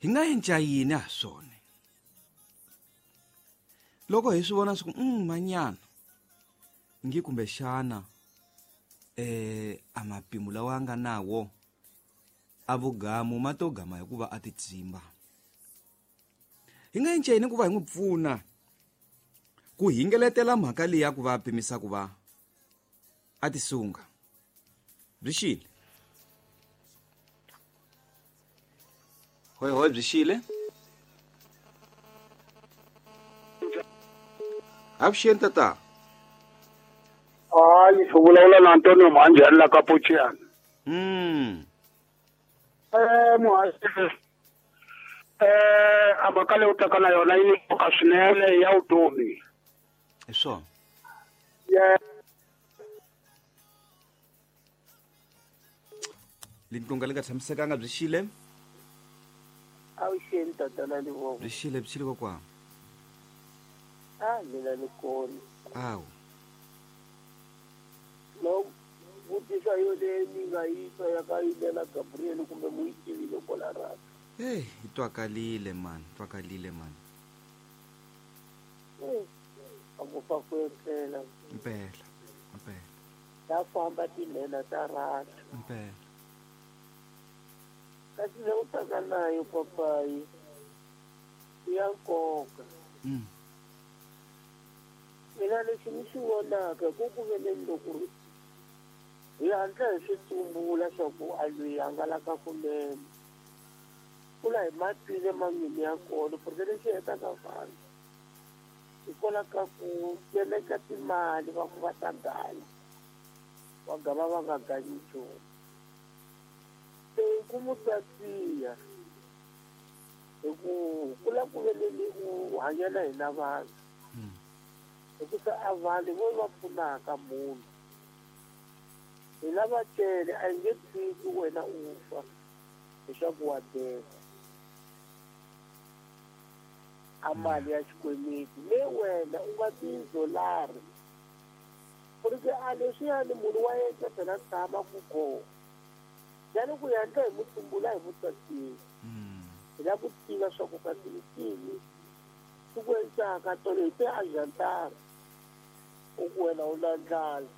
Hi nga endla yini ha swona? Loko hi swi vona swi ku manyana ngi kumbexana a mapimo lawa nga nawo a vugamu ma to gama hikuva a titsimba. Hi nga endla yini ku va hi n'wi pfuna ku hingeletela mhaka leyi ya ku va pimisa ku va a tisunga? Byi xile hoi hoi, byi xile. Avuxeni tata. Hayi, u vulavula na Antonio Mhanjani la ka Pochiana. Muhaxi, a mhaka leyi u taka na yona yi ni nkoka swinene ya vutomi. Hi swona. Lintlunga li nga tshamisekanga. Byi xile. Avuxeni tatana Livoko. Byi xile, byi xile kokwana. A mina ni kona. Awu. No vutisa yo leyi ni nga yi twa ya ka Yimela Gabriel, kumbe mu yi tivile kwala raka? Hey, yi twakalile man, twakalile man. A ku fa ku etlela. Impela, impela. Ta famba tinhena ta raka. Impela. Kasi le u taka nayo papayi i ya nkoka. Mina lexi ni xi vonaka ku ku veleni loko hi hatla hi swi tsumbula swa ku a lweyi hangalaka kunene, ku la hi matwile manyini ya kona, porque lexi hetaka vanhu hikwalaho ka ku keleka timali va ku va ta ganya, va gama va nga ganyi nchumu. Se ku mu tatiya hi ku ku la ku veleni u hanya na hina vanhu, hikusa a vanhu vo va pfunaka munhu hi lava tele, a yi nge tshiki wena u fa leswaku wa deka a mali ya xikweleti leyi wena u nga tizolari, porque a leswiyani munhu wa yena phela tshama ku kona yani ku yandla hi mutsumbula hi mutsatini. Hi lava ku tiva swa ku kasi i cini swi ku endlaka tolo hi te ajantara u ku wena u na ndlala,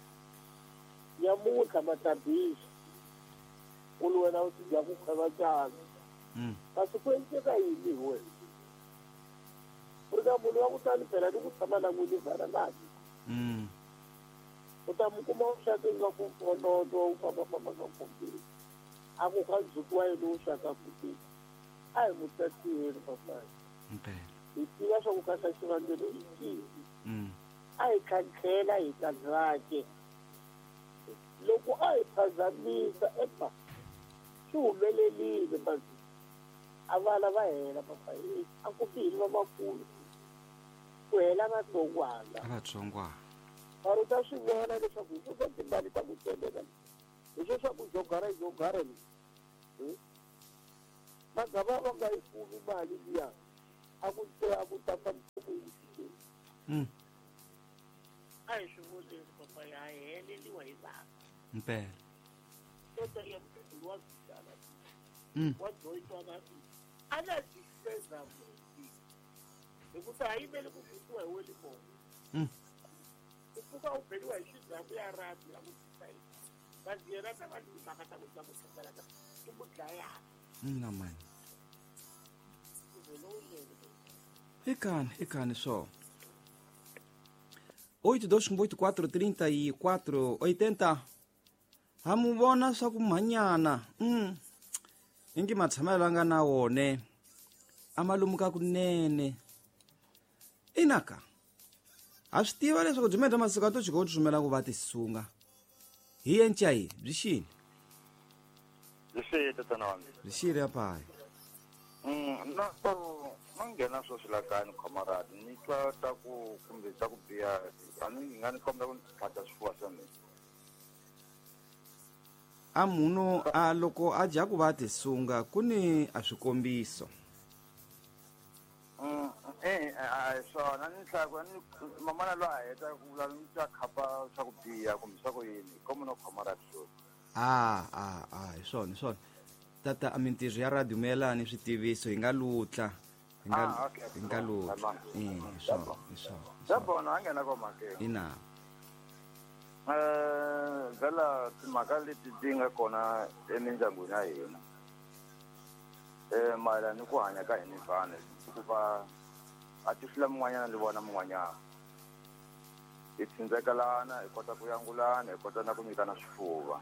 nyamuntlha matabisi u ri wena u ti dya ku khweva cana. Kasi ku endleka yini hi wena? U ri ka munhu wa ku tani phela ni ku tshama na n'wini vhana nani. U ta mu kuma u xaka ingaku vonono u fambafamba ka khompyuta, a ku ka ndzhuti wa yena u xaka kutini. A hi mu tatiyeni papayi. Hi tiva swa ku kasa xivangelo i cini. A hi tlhantlhela hi ta ndzhake. Loko a hi phazamisa epa swi humelelile basi a vana va hela papayi, a ku fihili vamakulu ku hela vatsongwana. A vatsongwana. Mara u ta swi vona leswaku hi swo swa timali ta ku tseleka, hi swo swa ku jogara jogara leswi. Magava va nga yi kumi mali liya a ku te a ku ta fambisa ku yini. A hi swi voneni papa, ya heleliwa hi vanhu. Mpela. Tota ya mkhulu wa vitana. Wa joyitwana. A na difeza muti. Hikusa a yimeli ku vutiwa hi weli mona. U pfuka u beliwa hi xidzaku ya rhabi ya ku tisa yini. Kasi yena ta va ni timhaka ta ku dya ku tlhela ka ku mu dlayana. Na mani. Ikani, ikani só. 8 2 8 4 34 80. Ha mu vona swa ku mhanyana. Ingi matshamelo nga na wone. A malumuka kunene. Inaka. Ha swi tiva leswaku byi mendla masiku a to chika u tsumela ku va tisunga. Hi encayi byi xini? Byi xile tatana wa mina. Byi xile apayi. Na so ma nghena sweswi la kaya ni khomaradi ni twa ta ku kumbe ta ku biha, a ni nga ni kombela ku ni tlhata swifuwa swa mina. A munhu a loko a dya ku va tisunga ku ni a swikombiso. A hi swona ni hlaya ku ni mamana loyi a heta ku vula ni twa khapa swa ku biha kumbe swa ku yini, komo no khomaradi sweswi. A hi swona, hi swona. Tata a mintirho ya radio mayelana switiviso hi nga lutla. Hi nga hi nga lutla. Swo swo. Sabona a nghena ko makeni. Ina. Vela timhaka leti ti nga kona emindyangwini ya hina. Mayelana ni ku hanya ka hina vanhu hikuva a ti hlula mun'wanyana ni vona mun'wanyana. Hi tsindzekelana, hi kota ku yangulana, hi kota na ku nyikana swifuva.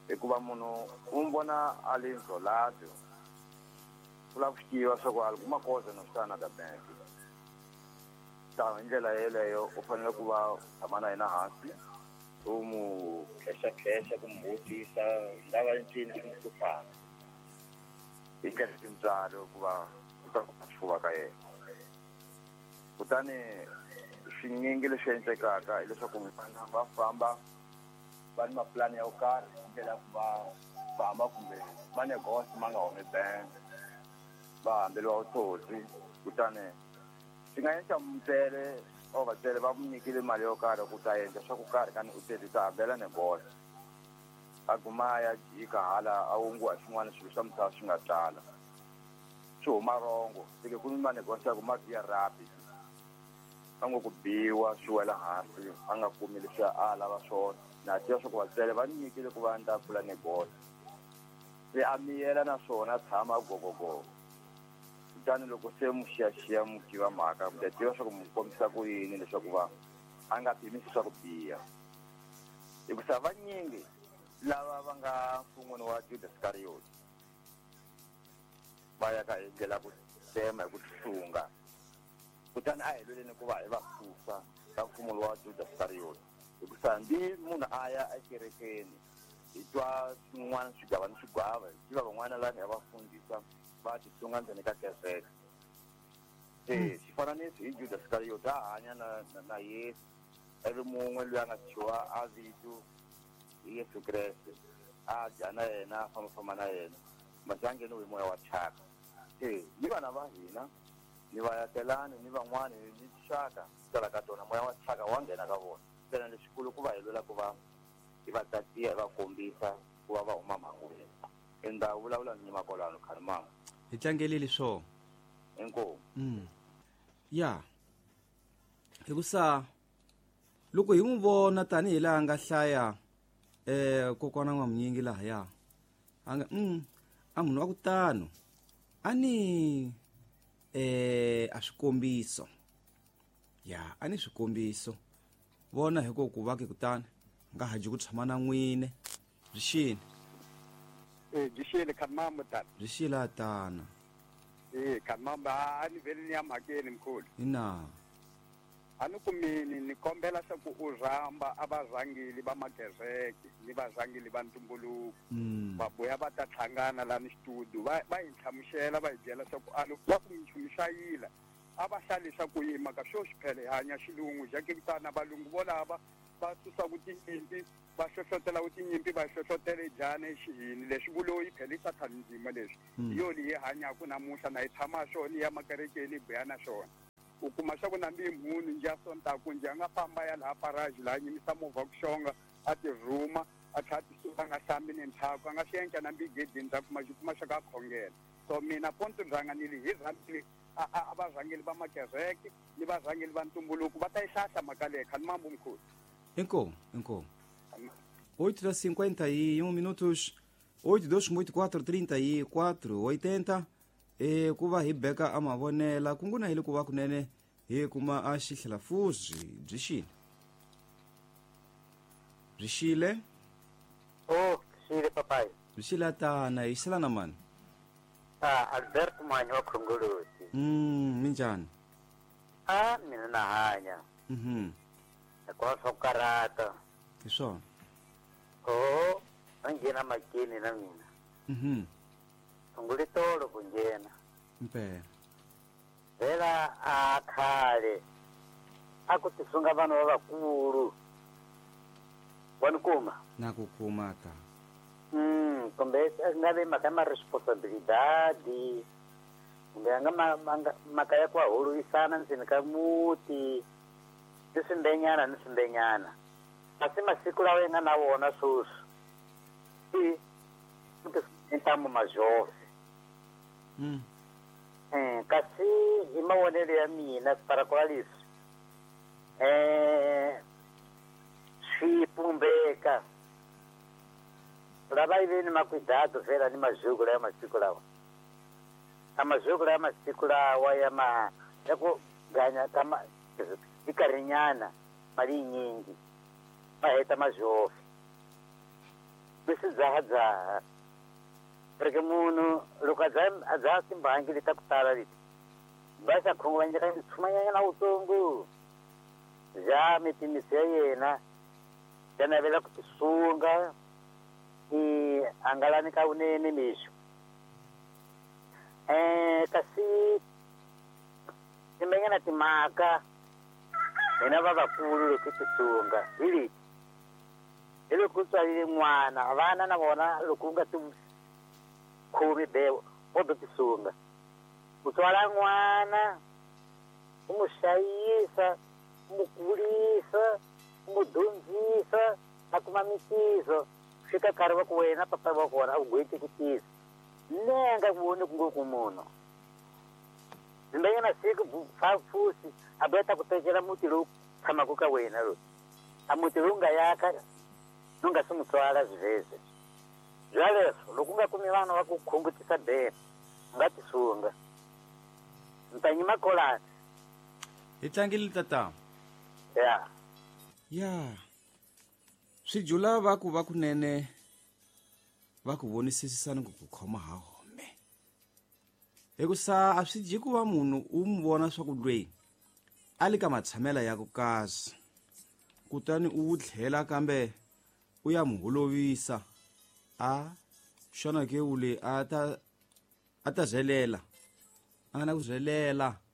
Hikuva munhu u n'wi vona a le ndzolati, u lava ku swi tiva swa ku a kuma koza no swi ta bank. Ta hi ndlela yeleyo u fanele ku va u tshama na yena hansi, u n'wi khexakhexa ku n'wi vutisa nga va ncini swi n'wi hluphaka. Hi ndlela tintswalo ku va u ta kuma xifuva ka yena. Kutani swinyingi leswi endlekaka hileswaku vana va famba va ni mapulani ya ku karhi hi ndlela ya ku va famba kumbe va negosi ma nga humi bank, va hambeliwa vutsotsi. Kutani swi nga endla mutswele or vatswele va n'wi nyikile mali yo karhi ku ta endla swa ku karhi kani u tele ta hambela negosi, a guma a ya jika hala a wunguwa swin'wana swilo swa misava swi nga tala swi huma rongo. Seke ku ni manegosi ya ku ma biya rapid, a ngo ku biwa swi wela hansi, a nga kumi leswi a lava swona. Na tiva swa ku vatswele va nyikile ku va ndza pfula negosi, se a miyela na swona tshama gogogogo. Kutani loko se mu xiyaxiya mu tiva mhaka, mi ta tiva swa ku mu kombisa ku yini leswaku va a nga pimisi swa ku biha. Hikusa vanyingi lava va nga mfun'wini wa Judas Iscariot va ya ka hi ndlela ku tema hi ku tihlunga. Kutani a hi lweleni ku va hi va susa ka mfumo wa Judas Iscariot. Hikusa hambi munhu a ya ekerekeni, hi twa swin'wana swigava ni swigwava, hi tiva van'wana lava nga va fundisa va tihlunga ndzeni ka kereke. Se xifananiso hi Judas Iscariot a hanya na Yesu, ivi mun'we loyi a nga thyiwa a vito hi Yesu Kreste, a dya na yena, a fambafamba na yena, masi a ngheniwe hi moya wa thyaka. Se ni vana va hina, ni vayakelani, ni van'wani, ni tinxaka tala ka tona, moya wa thyaka wa nghena ka vona. Ntsena lexikulu ku va hi lwela ku va hi va tatiya, hi va kombisa ku va va huma mhangwini. Ndza vulavula ni makolano khani mama. Hi tlangelile swo. Inkomu. Ya. Hikusa loko hi n'wi vona tanihi laha nga hlaya kokwana N'wamunyingi lahaya, a nga a munhu wa ku tano a ni a swikombiso. Ya, a ni swikombiso. Vona hi ku va ke kutani nga ha ji ku tshama na n'wine. Byi xini? Byi xile khani tata. Byi xile tana. Khani a ni vhele ni ya mhakeni mkhulu. Ina. A ni kumini ni kombela swa ku u rhamba a varhangeli va makereke ni varhangeli va ntumbuluko. Va vuya va ta hlangana la ni studio, va hi nhlamusela, va hi byela swa ku a va ku minchumu hlayila. A va hlalisa ku yima ka swo xiphele hi hanya xilungu ja ke kutana valungu volava va susa ku tinyimpi, va hlohlotela ku tinyimpi, va hlohlotela jane xihini leswi vuloyi phela i sathani ndzima leswi. Hi yo leyi hi hanyaka namuntlha na hi tshama swona ya makerekeni hi buya na swona. U kuma swa ku na mbi munhu nje a sontaku nje a nga famba ya laha paraji laha nyimisa movha ku xonga a ti rhuma a tlhela a ti suka a nga hlambi ni ntlhaku a nga swi endla na mbi gedeni ta kuma xi kuma swa ka khongela. So mina ponto rhanganile hi rhangile a varhangeli va makereke ni varhangeli va ntumbuluko va ta yi hlahla mhaka leyi khani mambo mkhulu. Inkomu, inkomu. 8:51 minutos, 8284 34 80. Ku va hi beka a mavonela ku nguna hi le ku va kunene hi kuma a xihlela fuzi byi xile. Byi xile? Oh, xile papai. Byi xile tana, hi xila na mani? Albert Manyi wa Khongoloti. Minjhani? A mina na hanya. Hikuva swa ku karhata. Hi swona. Oh, a nghena makeni na mina. Sungule tolo ku nghena. Mpela. Vhela a khale a ku tisunga vanhu va vakulu. Wa ni kuma? Na ku kuma ta. Kumbe a nga vi mhaka ya ma-responsibilidade, kumbe a nga mhaka ya ku holovisana ndzeni ka muti, ni swimbenyana ni swimbenyana. Kasi masiku lawa yi nga na wona sweswi, i Ntamu majofe. Kasi hi mavonelo ya mina para kwa leswi swi pumbeka lava yi ve ni makwidado fela ni mazhuku laya masiku lawa a mazhuku laya masiku lawa ya ma ya ku ganya ka ma nkarhinyana mali yinyingi ma heta majofe leswi dzahadzaha reke munhu loko a dzaha timbangi leti ta ku tala leti va xa khunguvanyeka tshumanyana wutsongo bya mipimiso ya yena ya navela ku tisunga i angalani ka vunene mixo kasi timenyana timhaka hina vavakulu loko tisunga hi leti hi loko u tswalile n'wana vana na vona loko u nga ti khomi bewo wo do tisunga u tswala n'wana u n'wi hlayisa u n'wi kulisa u n'wi dyondzisa a kuma mintirho fika nkarhi wa ku wena papa wa kona a ku gweti ku tisa nenga ku voni ku ngo ku munhu zimbenyana siku fusi a boeta ku tekela muti lowu tshamaka ka wena loyi a muti lowu nga yaka nu nga swi n'wi tswala swivheze byaleswo loko u nga kumi vana va ku khungutisa bene u nga tisunga ntanyima kolani hi tlangile tata ya ya swi jula va ku va kunene va ku vonisisisani ku ku khoma ha home hikusa a swi dyi ku va munhu u n'wi vona swa ku lweyi a li ka matshamela ya ku kasi kutani u wu tlhela kambe u ya mu holovisa a xana ke ule a ta a ta zelela a nga na ku zelela.